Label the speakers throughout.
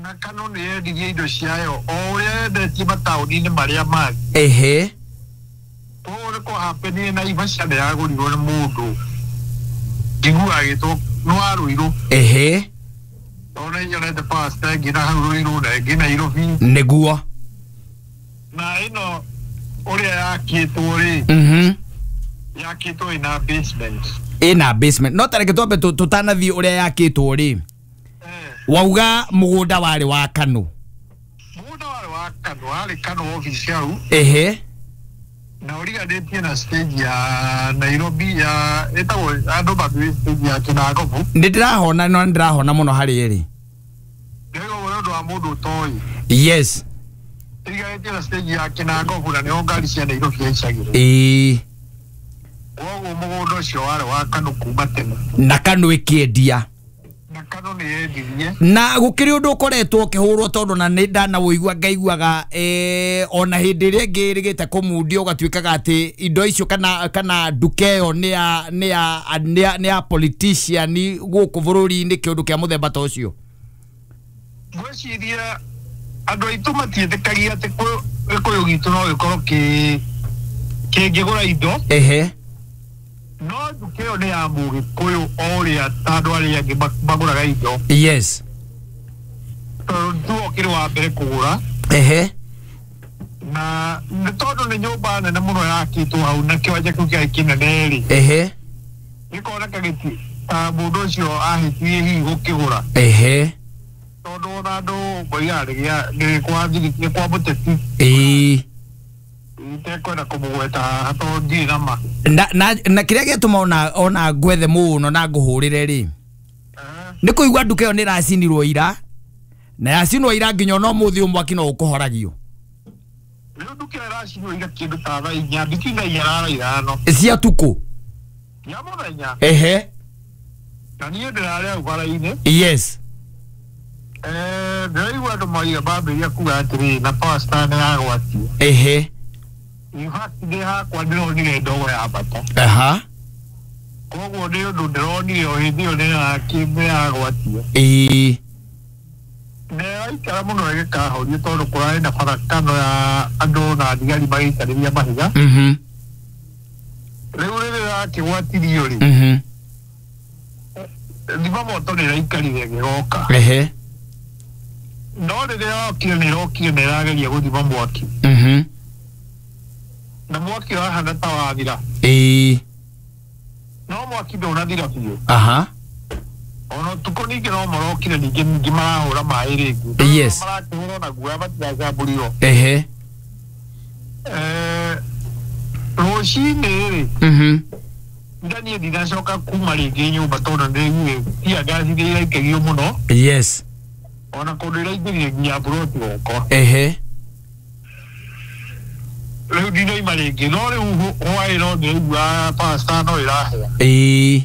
Speaker 1: Na Kanu nĩ yendirie indo ciayo o ũrĩa yendetie mataũni-inĩ marĩa mangĩ. Koguo nĩ kwahapenire Naivasha nĩ yagũrirwo nĩ mũndũ njiguaga agĩtwo nĩ wa Ruiru. Tondũ nĩ nyonete pastor ĩngĩ na hau Ruiru na ĩngĩ Nairobi.
Speaker 2: Nĩguo.
Speaker 1: Na ĩno ũrĩa yakĩtwo rĩ, yakĩtwo ĩna basement.
Speaker 2: Ĩna basement. No tareke twambe tũtanathiĩ ũrĩa yakĩtwo rĩ, wauga mũgũnda warĩ wa Kanu.
Speaker 1: Mũgũnda warĩ wa Kanu, warĩ Kanu office hau. Na ũriganĩtie na stage ya Nairobi ya ĩtagwo andũ mathiĩ stage ya Kinangobu.
Speaker 2: Nĩ ndĩrahona, no nĩ ndĩrahona mũno harĩ ĩrĩ.
Speaker 1: Ndĩraigua nĩ ũndũ wa mũndũ ũtoĩ.
Speaker 2: Yes.
Speaker 1: Ĩriganĩtie na stage ya Kinangobu na nĩho ngari cia Nairobi yaicagĩrwo. Koguo mũgũnda ũcio warĩ wa Kanu kuma tene.
Speaker 2: Na Kanu ĩkĩendia.
Speaker 1: Na Kanu nĩ yendirie.
Speaker 2: Na gũkĩrĩ ũndũ ũkoretwo ũkĩhũrwo tondũ na nĩ ndanawũigua ngaiguaga, ona hĩndĩ ĩrĩa ĩngĩ ĩrĩgĩte kũmundio ũgatuĩkaga atĩ indo icio kana nduka ĩyo nĩ ya politician gũkũ bũrũri-inĩ, kĩũndũ kĩa mũthemba ta ũcio.
Speaker 1: Ngwĩciria andũ aitũ matiĩtĩkagia atĩ Gĩkũyũ gitũ no gĩkorwo kĩngĩgũra indo. No nduka ĩyo nĩ ya Mũgĩkũyũ o ũrĩa ta andũ arĩa angĩ magũraga indo.
Speaker 2: Yes.
Speaker 1: Tondũ nĩwe ũkĩrĩ wa mbere kũgũra. Na nĩ tondũ nĩ nyũmba nene mũno yakĩtwo hau na kĩwanja kĩu kĩarĩ kĩnene rĩ. Gĩkoneka gĩti ta mũndũ ũcio ahĩtirie hihi gũkĩgũra. Tondũ ona andũ moigaga nĩ kwa mũteti. Itekwenda kũmũgweta haha tondũ ndirĩ na ma.
Speaker 2: Na kĩrĩa gĩatũma ona ngwethe mũno na ngũhũrĩre rĩ, nĩ kũigua nduka ĩyo nĩ ĩracinirwo ira, na yacinwo ira nginya ona ũmũthĩ ũyũ mwaki no ũkũhoragio.
Speaker 1: Rĩu nduka ĩyo ĩracinwo ira kĩndũ ta thaa inya, between thaa inya na thaa ithano.
Speaker 2: Cia tukũ?
Speaker 1: Ya mũthenya. Na niĩ ndĩrarĩ hau bara-inĩ.
Speaker 2: Yes.
Speaker 1: Ndĩraigua andũ moiga mambĩrĩria kuga atĩrĩrĩ, na power star nĩ yagwatio. In fact, ndĩ hakwa ndĩronire ndogo ya bata. Koguo nĩ ũndũ ndĩronire o hĩndĩ ĩyo nĩ yagwatio. Na ĩraikara mũno ĩgĩkahorio tondũ kũrarĩ na barakano ya andũ na thigari magĩikarĩria mahiga. Rĩu rĩrĩa yakĩgwatirio rĩ, thima moto nĩ ĩraikarire ĩgĩgoka. No rĩrĩa yokire nĩ ĩrokire na ĩrageria gũthima mwaki. Na mwaki wahana ta wathira. No mwaki ndũnathira biũ. Ona ũtukũ ningĩ no marokire ningĩ ningĩ marahũra maĩ rĩngĩ.
Speaker 2: Yes.
Speaker 1: Marakĩhũra na guoya matiracambũrirwo. Rũcinĩ rĩ, nda niĩ ndinacoka kuma rĩngĩ nyũmba tondũ nĩndĩraiguire tear gas nĩ iraikagio mũno.
Speaker 2: Yes.
Speaker 1: Ona kũndũ iraingĩrire nginya mburoti gwakwa. Rĩu ndinaima rĩngĩ, no rĩu hwaĩ no ndĩraigua pasta no ĩrahĩa.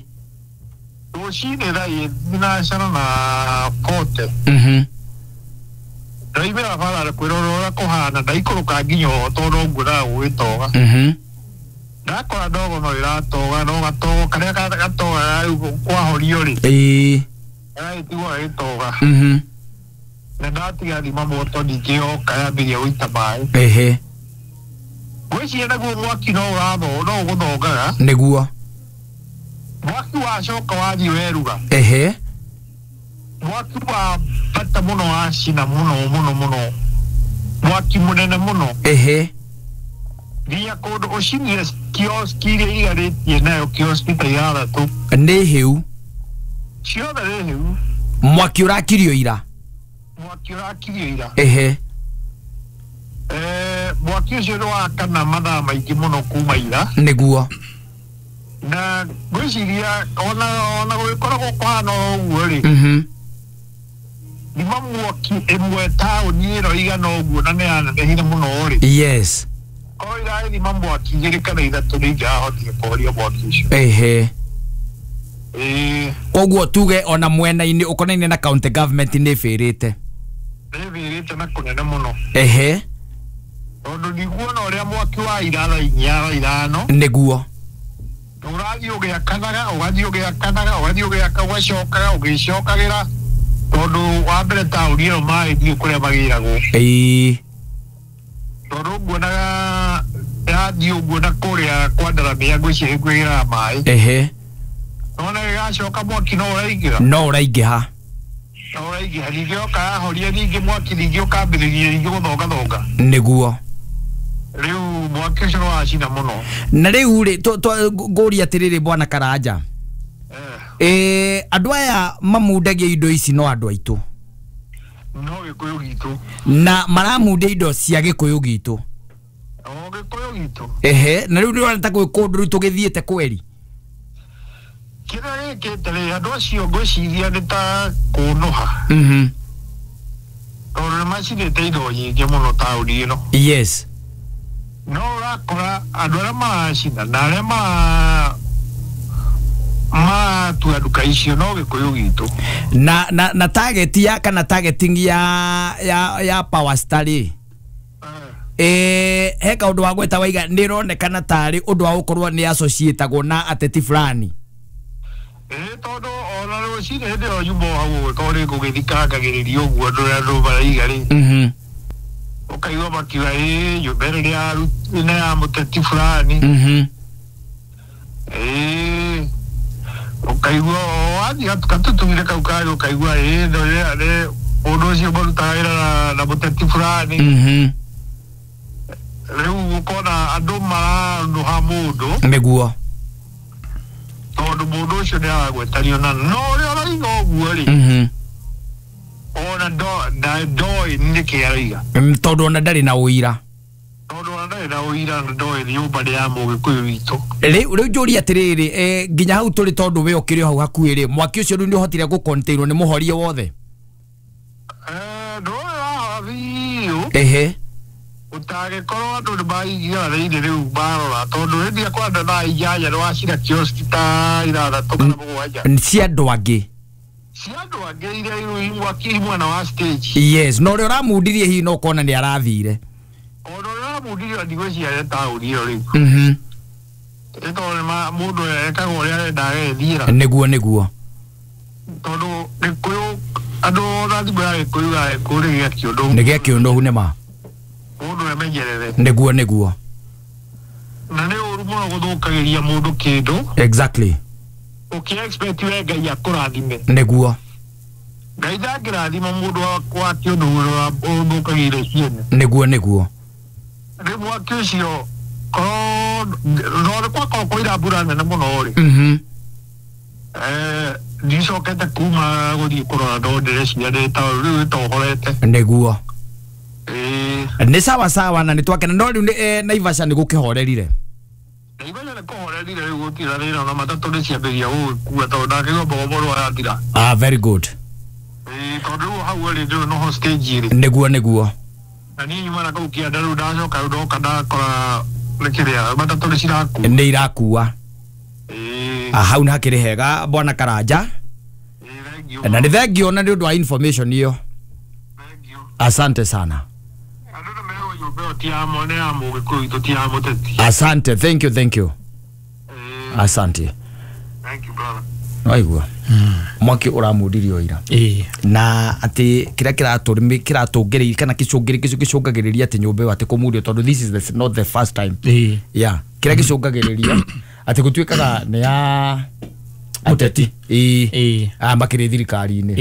Speaker 1: Rũcinĩ thaa thinacara na 40. Ndaimĩra bara kwĩrora ũrĩa kũhana, ndaikũrũka nginya ho tondũ no nguonaga gũgĩtoga. Ndakora ndogo no ĩratoga, no gatogo karĩa gatogaga rĩu kwahorio rĩ, gagagĩtigwo gagĩtoga. Na ndatiga thima moto ningĩ yoka yambĩrĩria gũita maĩ. Ngwĩciria naguo mwaki no ũratho, no ũgũthongaga.
Speaker 2: Nĩguo.
Speaker 1: Mwaki wacoka wathiĩ weruga. Mwaki wa bata mũno wacina mũno mũno mũno. Mwaki mũnene mũno. Nginya kũndũ ũcinire kioski iria iriganĩtie nayo, kioski ta ithathatũ.
Speaker 2: Nĩ hĩu.
Speaker 1: Ciothe nĩ hĩu.
Speaker 2: Mwaki ũrakirio ira.
Speaker 1: Mwaki ũrakirio ira. Mwaki ũcio nĩ wakana mathaa maingĩ mũno kuma ira.
Speaker 2: Nĩguo.
Speaker 1: Na ngwĩciria ona gũgĩkoragwo kũhana o ũguo rĩ, thima mwaki ĩmwe taũni ĩno igana ũguo na nĩ yanenehire mũno rĩ.
Speaker 2: Yes.
Speaker 1: Korwo irathima mwaki igĩrĩ kana ithatũ nĩ ingĩrahotire kũhoria mwaki ũcio.
Speaker 2: Koguo tuge ona mwena-inĩ ũkonainie na county government nĩ ĩbĩrĩte.
Speaker 1: Nĩ ĩbĩrĩte na kũnene mũno. Tondũ ndikuona ũrĩa mwaki wa ira thaa inya thaa ithano.
Speaker 2: Nĩguo.
Speaker 1: Ũrathiĩ ũgĩakanaga, ũgathiĩ ũgĩakanaga, ũgathiĩ ũgĩaka, ũgacokaga, ũgĩcokagĩra. Tondu wa mbere taũni ĩyo maĩ ndiũĩ kũrĩa magĩragwo.
Speaker 2: Ĩĩ.
Speaker 1: Tondũ nguonaga yathiĩ ũguo na kũrĩa kwa Ndaramia ngwĩciria nĩkuo ĩgĩraga maĩ.
Speaker 2: Ehe.
Speaker 1: Nona gĩgacoka mwaki no ũraingĩra.
Speaker 2: No ũraingĩha.
Speaker 1: No ũraingĩha ningĩ yoka yahoria ningĩ mwaki ningĩ ũkambĩrĩria ningĩ gũthongathonga.
Speaker 2: Nĩguo.
Speaker 1: Rĩu mwaki ũcio nĩwacina mũno.
Speaker 2: Na rĩu rĩ ngũria atĩrĩrĩ bwana Karanja. Andũ aya mamundagia indo ici no andũ aitũ.
Speaker 1: No Gĩkũyũ gitũ.
Speaker 2: Na maramundia indo cia Gĩkũyũ gitũ.
Speaker 1: O Gĩkũyũ gitũ.
Speaker 2: Ehe, na rĩu nĩũrona ta gwĩ kũndũ rĩu tũgĩthiĩte kweri.
Speaker 1: Kĩrĩa gĩkĩte rĩ andũ acio ngwĩciria nĩ ta kũnũha. Tondũ nĩmacinĩte indo nyingĩ mũno taũni ĩno.
Speaker 2: Yes.
Speaker 1: No ũrakora andũ arĩa maracina na arĩa maratua nduka icio no Gĩkũyũ gitũ.
Speaker 2: Na target ya kana targeting ya Power Star rĩ. He kaũndũ wa gweta waiga nĩ ĩronekana tarĩ ũndũ wa gũkorwo nĩ associatagwo na ateti fulani.
Speaker 1: Tondũ ona rũcinĩ hĩndĩ ĩyo nyuma o hau ũguo tondũ nĩngũgĩthikangagĩrĩria ũguo andũ arĩa andũ maraiga rĩ. Ũkaigua makiuga ĩĩ nyũmba ĩno nĩ ya mũteti fulani. Ũkaigua wathiĩ gatutugire kau karĩ ũkaigua ĩĩ nĩ mũndũ ũcio marutaga wĩra na mũteti fulani. Rĩu ũkona andũ maranũha mũndũ.
Speaker 2: Nĩguo.
Speaker 1: Tondũ mũndũ ũcio nĩ aragwetanio na no ũrĩa ũraiga ũguo rĩ. Ona ndoĩ nĩkĩ araiga.
Speaker 2: Tondũ ona ndarĩ na ũira.
Speaker 1: Tondũ ona ndarĩ na ũira na ndoĩ nyũmba nĩ ya Mũgĩkũyũ witũ.
Speaker 2: Rĩu njũrie atĩrĩrĩ nginya hau tũrĩ tondũ we ũkĩrĩ o hau hakuhĩ rĩ mwaki ũcio rĩu nĩ ũhotire gũcontainwo nĩ mũhorie wothe?
Speaker 1: Ndũĩ wahora biũ.
Speaker 2: Ehe.
Speaker 1: Ũtangĩkorwo andũ nĩ maingĩra thĩinĩ rĩu marora tondũ hĩndĩ ĩrĩa kwanda thaa inyanya nĩwacina kioski ta ithathatũ kana mũgwanja.
Speaker 2: Cia andũ angĩ.
Speaker 1: Cia andũ angĩ iria rĩu mwaki mwena wa stage.
Speaker 2: Yes, na ũrĩa ũramundirie hihi no ũkona nĩ arathire.
Speaker 1: Ona ũrĩa ũramundirie ndigwĩciria taũni ĩyo rĩu. Nĩ tondũ mũndũ ekaga ũrĩa arenda agethiĩra.
Speaker 2: Nĩguo nĩguo.
Speaker 1: Tondũ Gĩkũyũ andũ ona thimũ ya Gĩkũyũ ya Gĩkũyũ nĩ gĩa kĩũndũ.
Speaker 2: Nĩ gĩa kĩũndũ nĩ ma.
Speaker 1: Mũndũ emenyerere.
Speaker 2: Nĩguo nĩguo.
Speaker 1: Na nĩ ũru mũno gũthũkagĩria mũndũ kĩndũ.
Speaker 2: Exactly.
Speaker 1: Ũkĩ expect we Ngai akũrathime.
Speaker 2: Nĩguo.
Speaker 1: Ngai ndangĩrathima mũndũ wa kĩũndũ ũrĩa ũthũkagĩire ciene.
Speaker 2: Nĩguo nĩguo.
Speaker 1: Rĩu mwaki ũcio korwo no kwakorwo kũira mbura nene mũno rĩ. Ndicokete kuma gũthiĩ kũrora no ndĩreciria nĩ rĩu ĩtohorete.
Speaker 2: Nĩguo. Nĩ sawa sawa na nĩ twakena no rĩu Naivasha nĩ gũkĩhorerire.
Speaker 1: Naivasha nĩ kũhorerire rĩu gũtirĩ thĩna ona matatũ nĩ ciambĩrĩria gũgĩkua tondũ ndakĩigua mbogo mũndũ arathira.
Speaker 2: Ah, very good.
Speaker 1: Tondũ rĩu hau rĩ rĩu noho stage rĩ.
Speaker 2: Nĩguo nĩguo.
Speaker 1: Na niĩ nyuma na kũu kĩanda rĩu ndacoka rĩu ndoka ndakora nĩ kĩrĩa matatũ nĩ cirakua.
Speaker 2: Nĩ irakua. Hau nĩ hakĩrĩ hega bwana Karanja. Na nĩ thengio na nĩ ũndũ wa information ĩyo. Asante sana. Asante, thank you, thank you. Asante.
Speaker 1: Thank you, brother.
Speaker 2: Waigua. Mwaki ũramundirio ira. Na atĩ kĩrĩa kĩratũngĩrĩria kana gĩcũngagĩrĩria atĩ nyũmba ĩyo atĩ kũmundio tondũ this is not the first time. Yeah, kĩrĩa gĩcũngagĩrĩria atĩ gũtuĩkaga nĩ ya ateti. Makĩrĩ thirikari-inĩ.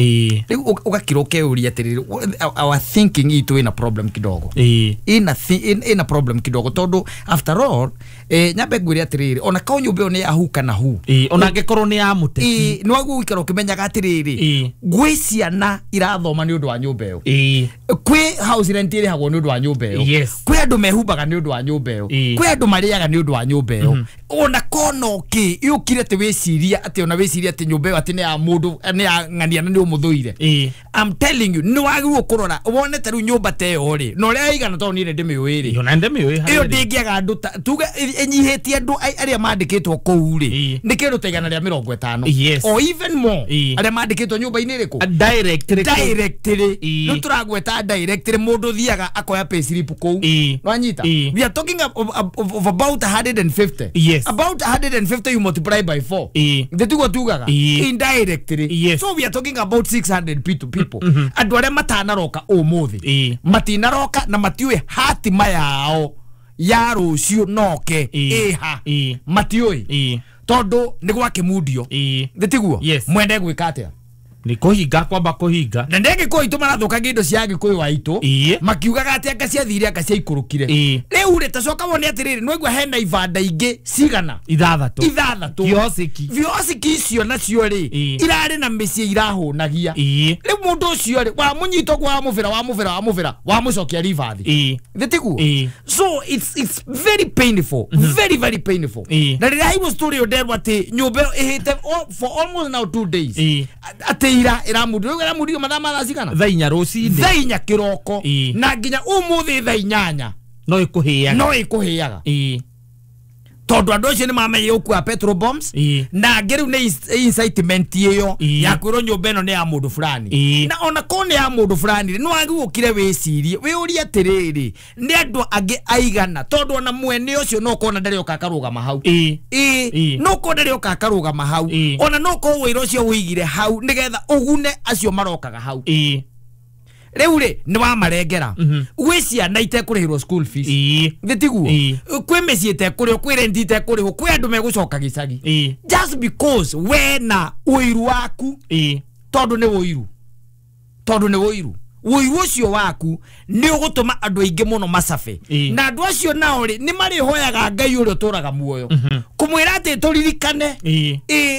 Speaker 2: Rĩu ũgakira ũkeyũria atĩrĩrĩ our thinking itũ ĩna problem kidogo. Ĩna problem kidogo tondũ after all nyambe ngwĩre atĩrĩrĩ ona korwo nyũmba ĩyo nĩ ya hu kana hu.
Speaker 3: Ona angĩkorwo nĩ ya mũteti.
Speaker 2: Nĩ wagwo gũikara ũkĩmenyaga atĩrĩrĩ gwĩ ciana irathoma nĩ ũndũ wa nyũmba ĩyo. Kwĩ house rent ĩrĩhagwo nĩ ũndũ wa nyũmba ĩyo. Kwĩ andũ mehumbaga nĩ ũndũ wa nyũmba ĩyo. Kwĩ andũ marĩaga nĩ ũndũ wa nyũmba ĩyo. Ona kono kĩ yũkire atĩ wĩciria atĩ ona wĩciria atĩ nyũmba ĩyo atĩ nĩ ya mũndũ nĩ ya ng'ania na nĩ ũmũthũire. I'm telling you nĩ wagĩrĩirwo kũrora wone ta rĩu nyũmba ta ĩyo rĩ na ũrĩa ĩigana tondũ niĩ nĩ ndĩmĩũĩ rĩ. Ĩyo ndĩngĩaga andũ tuge ĩnyihĩtie andũ arĩa mandĩkĩtwo kũu rĩ nĩ kĩndũ ta 150 or even more arĩa mandĩkĩtwo nyũmba-inĩ ĩrĩkũ directly. Rĩu tũragweta directly mũndũ thiaga akoya payslip kũu Nwanyita we are talking of about 150.
Speaker 3: Yes.
Speaker 2: About 150 you multiply by 4. Ndetiguo tugaga indirectly.
Speaker 3: Yes.
Speaker 2: So we are talking about 600 people. Andu aria matanaroka umuthi matinaroka na matiuĩ hatima yao ya rucio noke iha matiũĩ tondu ni gwakimundio. Ndetiguo mwende gwika atia
Speaker 3: ni kuhinga kwamba kuhinga
Speaker 2: na ndege ko itu marathukagia indo cia Gikuyu aitu makiugaga ati anga ciathire anga ciaikurukire. Riu ri tacoka wone atiriri nwaigua hena ibanda ingi cigana ithathatũ kiosiki icio nacio ri irari na mĩciĩ irahunagia. Riu mundu ucio ri wamunyita ũguo wamũbĩra wamucokia ribathi. Thĩtiguo? So it's very painful, very very painful. Na rĩrĩa haigua story nderwo atĩ nyũmba ĩyo ĩhĩte for almost now 2 days atĩ ira iramundio mathaa ma thaa cigana
Speaker 3: thaa inya rũcinĩ
Speaker 2: thaa inya kĩroko na nginya ũmũthĩ thaa inyanya
Speaker 3: no ĩkũhĩaga
Speaker 2: tondu andu acio nĩ gũkua petrol bombs na angĩ rĩu nĩ incitement ĩyo ya kwĩrwo nyũmba ĩno nĩ ya mũndũ fulani na ona korwo nĩ ya mũndũ fulani nĩ wagĩũkire wĩcirie wĩũrie atĩrĩrĩ nĩ andũ angĩ aigana tondu ona mwene ũcio no ũkona ndarĩ oka akarũgama hau no ũkorwo ndarĩ oka akarũgama hau ona no ũkorwo wĩra ũcio wĩigire hau nĩgetha ũgune acio marokaga hau. Rĩu rĩ nĩ wamarengera gwĩ ciana itekũrĩhĩrwo school fees. Thĩtiguo? Kwĩ mĩciĩ ĩtekũrĩhwo, kwĩ rent itekũrĩhwo, kwĩ andũ megũcoka gĩcagi just because we na ũiru waku tondũ nĩ ũiru ũiru ũcio waku nĩ ũgũtũma andũ aingĩ mũno macabe na andũ acio nao rĩ nĩ marĩhoyaga Ngai ũrĩa ũtũraga muoyo kũmwĩra atĩ tũririkane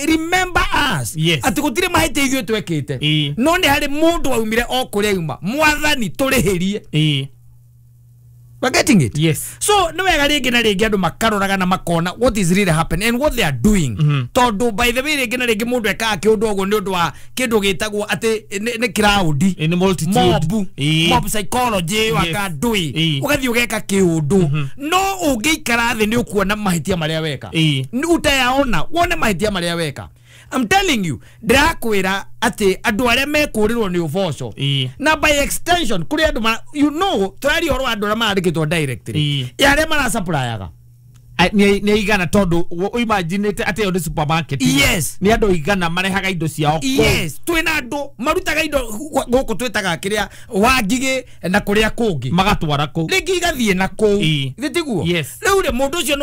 Speaker 2: remember us atĩ gũtirĩ mahĩtia ithuĩ twekĩte no nĩ harĩ mũndũ waumire o kũrĩa auma mwathani tũrĩhĩrie. We're getting it?
Speaker 3: Yes.
Speaker 2: So nĩ wega rĩngĩ na rĩngĩ andũ makaroraga na makona what is really happening and what they are doing. Tondu by the way rĩngĩ na rĩngĩ mũndũ ekaga kĩũndũ ũguo nĩ ũndũ wa kĩndũ gĩtagwo atĩ nĩ crowd,
Speaker 3: nĩ multitude,
Speaker 2: mob psychology wakandui ũgathiĩ ũgeka kĩũndũ no ũngĩikara thĩ nĩ ũkuona mahĩtia marĩa weka. Nĩ utayaona wone mahĩtia marĩa weka. I'm telling you, ndĩrakwĩra atĩ andũ arĩa mekũrĩrwo nĩ ũboco na by extension kũrĩ andũ you know tũraria ũhoro wa andũ arĩa marandĩkĩtwo directly ya arĩa marasupplyyaga
Speaker 3: nĩ igana tondu imaginĩte atĩ ĩyo nĩ supermarket.
Speaker 2: Yes.
Speaker 3: Nĩ andũ igana marehaga indo ciao kũu.
Speaker 2: Yes, twĩna andũ marutaga indo gũkũ twĩtaga kĩrĩa Wangigĩ na kũrĩa kũngĩ
Speaker 3: magatwara kũu
Speaker 2: rĩngĩ igathiĩ na kũu. Thĩtiguo? Rĩu rĩ mũndũ ũcio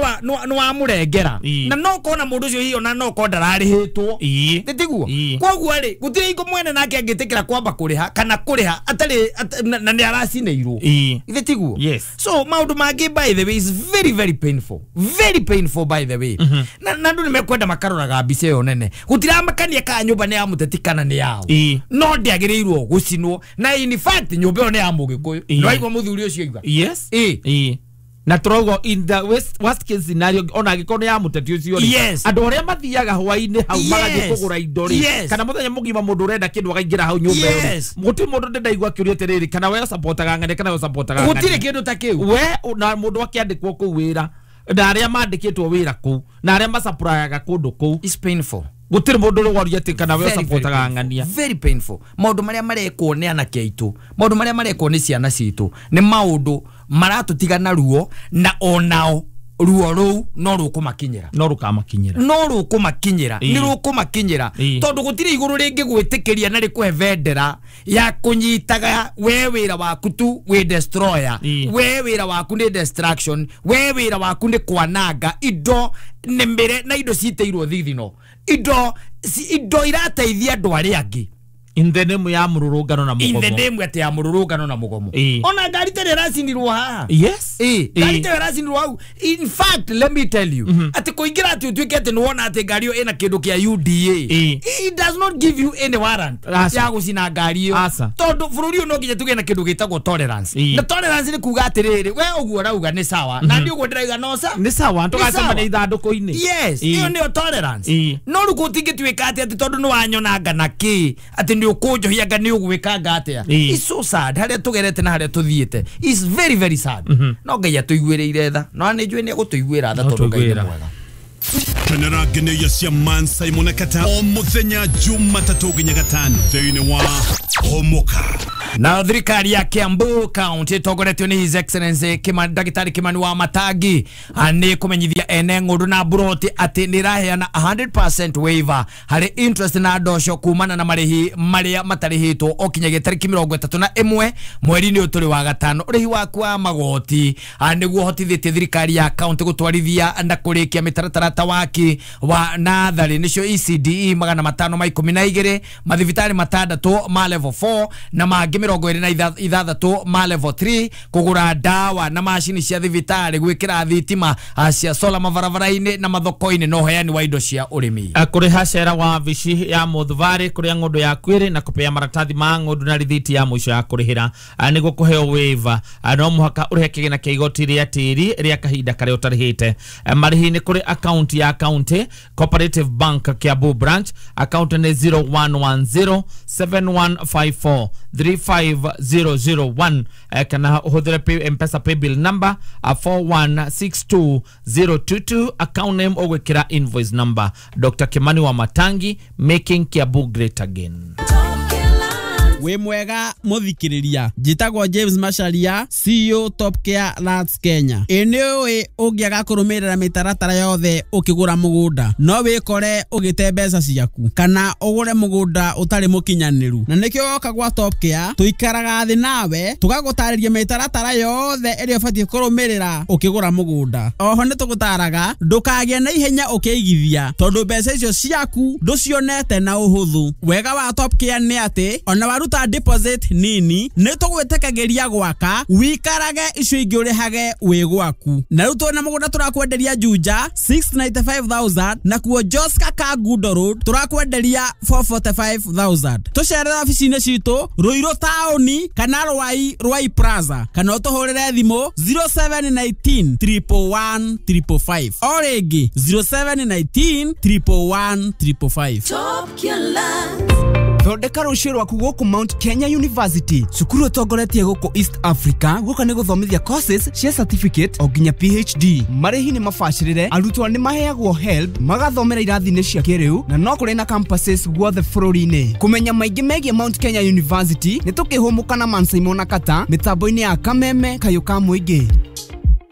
Speaker 2: nĩ wamũrengera na no ũkona mũndũ ũcio hihi ona no ũkorwo ndararĩhĩtwo. Thĩtiguo? Koguo rĩ gũtirĩ hingo mwene nake angĩtĩkĩra kwamba kũrĩha kana kũrĩha atarĩ na nĩ aracinĩirwo. Thĩtiguo?
Speaker 3: Yes.
Speaker 2: So maũndũ mangĩ by the way is very very painful. Very painful by the way. Na andũ nĩ mekwenda makaroraga mbica ĩyo nene gũtiramakania kana nyũmba nĩ ya mũteti kana nĩ yao no ndĩagĩrĩirwo gũcinwo na in fact nyũmba ĩyo nĩ ya Mũgĩkũyũ. Nĩwaigua mũthuri ũcio oiga?
Speaker 3: Yes. Na tũrauga in the worst case scenario ona angĩkorwo nĩ ya mũteti ũcio rĩ andũ arĩa mathiaga hwaĩ-inĩ hau magathiĩ kũgũra indo rĩ kana mũthenya mũgima mũndũ ũrenda kĩndũ akaingĩra hau nyũmba ĩyo gũtirĩ mũndũ ndĩndaigua akĩũria atĩrĩrĩ kana we ũsapotaga ng'ania kana we ũsapotaga ng'ania
Speaker 2: gũtirĩ kĩndũ ta kĩu
Speaker 3: we na mũndũ akĩandĩkwo kũu wĩra na arĩa mandĩkĩtwo wĩra kũu na arĩa masupplyaga kũndũ kũu.
Speaker 2: It's painful.
Speaker 3: Gũtirĩ mũndũ ũrĩ atĩ kana we ũsapotaga ng'ania.
Speaker 2: Very painful. Maũndũ marĩa marekwo nĩ anake aitũ, maũndũ marĩa marekwo nĩ ciana citũ nĩ maũndũ maratũtiga na ruo na onao ruo rũu no rũkũmakinyĩra
Speaker 3: no rũkamakinyĩra
Speaker 2: no rũkũmakinyĩra nĩ rũkũmakinyĩra tondu gũtirĩ igũrũ rĩngĩ gwĩtĩkĩria na rĩkũhe bendera ya kũnyitaga we wĩra waku tu wĩ destroyer, we wĩra waku nĩ destruction, we wĩra waku nĩ kwananga indo nĩ mĩre na indo citĩirwo thithino indo irateithia andũ arĩa angĩ
Speaker 3: in the name ya mururungano na mugomo,
Speaker 2: in the name ati ya mururungano na mugomo. Ona ngari tere racinirwo haha.
Speaker 3: Yes,
Speaker 2: ngari tere racinirwo hau. In fact let me tell you ati kuingira ati utuike ati niwona ati ngari iyo ina kindu kia UDA, it does not give you any warrant ya gucina ngari iyo, tondu bururi no nginya tuge na kindu gitagwo tolerance. Na tolerance ni kuga atiriri we uguo rauga ni sawa na ndi uguo ndirauga no sa
Speaker 3: ni sawa tugacemania ithanduku-ini.
Speaker 2: Yes, iyo niyo tolerance. No riu gutingituika ati tondu ni wanyonanga na ki ati ni ukunjohia nga ni ugwikanga atia. It's so sad haria tugerete na haria tuthiite. It's very very sad. No Ngai atuiguireire tha, no ni njui ni agutuiguira tha tondu Ngai ni mwega.
Speaker 4: Kenera ngeneya cia Man Simon Kata o muthenya Jumatatu nginya Gatano thiini wa Homoka.
Speaker 2: Na thirikari ya Kiambu County ĩtongoretio nĩ His Excellency Ndagĩtarĩ Kimani wa Matangi nĩ kũmenyithia ene ng'ũndũ na mburoti atĩ nĩ ĩraheana 100% waiver harĩ interest na ndosho kumana na marĩhi marĩa matarĩhĩtwo o kinyagia tarĩki 31 mweri-inĩ ũyũ tũrĩ wa gatano. Ũrĩhi waku wa magoti nĩguo ũhotithĩtie thirikari ya county gũtwarithia na kũrĩkia mĩtaratara ta waki wa natharĩ nĩcio ECDE 512, mathibitarĩ 6 ma level 4 na mangĩ 26 ma level 3, kũgũra ndawa na macini cia thibitarĩ, gwĩkĩra thitima cia sola mabarabara-inĩ na mathoko-inĩ na ũheani wa indo cia ũrĩmi.
Speaker 3: Kũrĩha cera wa wabici ya Mũthubarĩ kũrĩa ng'ũndũ yaku ĩrĩ na kũpea maratathi ma ng'ũndũ na rithiti ya mũico ya kũrĩhĩra nĩguo kũheo waiver no mũhaka ũrĩhe kĩgĩna kĩa igoti rĩa tĩri rĩa kahinda karĩa ũtarĩhĩte. Marĩhi nĩ kũrĩ akaunti ya county Cooperative Bank Kiambu branch, akaunti nĩ 0110 7154 35001 kana ũhũthĩre M-Pesa paybill number 4162022, account name ũgwĩkĩra invoice number. Dr. Kimani wa Matangi, making Kiambu great again.
Speaker 5: Wĩ mwega mũthikĩrĩria, njĩtagwo James Macharia, CEO Top Care Lands Kenya. Ĩ nĩ ũĩ ũngĩaga kũrũmĩrĩra mĩtaratara yothe ũkĩgũra mũgũnda no wĩkore ũgĩte mbeca ciaku kana ũgũre mũgũnda ũtarĩ mũkinyanĩru, na nĩkĩo woka gwa Top Care tũikaraga thĩ nawe tũgagũtarĩria mĩtaratara yothe ĩrĩa ũbatiĩ kũrũmĩrĩra ũkĩgũra mũgũnda. Oho nĩ tũgũtaraga ndũkagĩe na ihenya ũkĩigithia tondũ mbeca icio ciaku ndũcionete na ũhũthũ. Wega wa Top Care nĩ atĩ ona waruta deposit nini nĩ tũgwĩtĩkagĩria gwaka wikarage icio ingĩ ũrĩhage wĩ gwaku. Na rĩu twĩna mũgũnda tũrakwenderia Juja 695,000 na kuo Joska Kangundo Road tũrakwenderia 445,000. Tũcerere obici-inĩ citũ Ruiru taũni kana Rwai Plaza kana ũtũhũrĩre thimũ 0719 111 555. O rĩngĩ 0719 111 555.
Speaker 6: Top Killer.
Speaker 7: Thondeka rũciũ rwaku gũkũ Mount Kenya University, cukuru ũtongoretie gũkũ East Africa gũka nĩ gũthomithia courses cia certificate o nginya PhD. Marĩhi nĩ mabacĩrĩre, arutwo nĩ maheagwo HELB, magathomera irathi-inĩ cia kĩrĩu na no kũrĩ na campuses guothe bũrũri-inĩ. Kũmenya maingĩ megiĩ Mount Kenya University nĩ tũkĩhũmũka na Mansaimo na Kata mĩtambo-inĩ ya Kameme Kayũ ka Mũingĩ.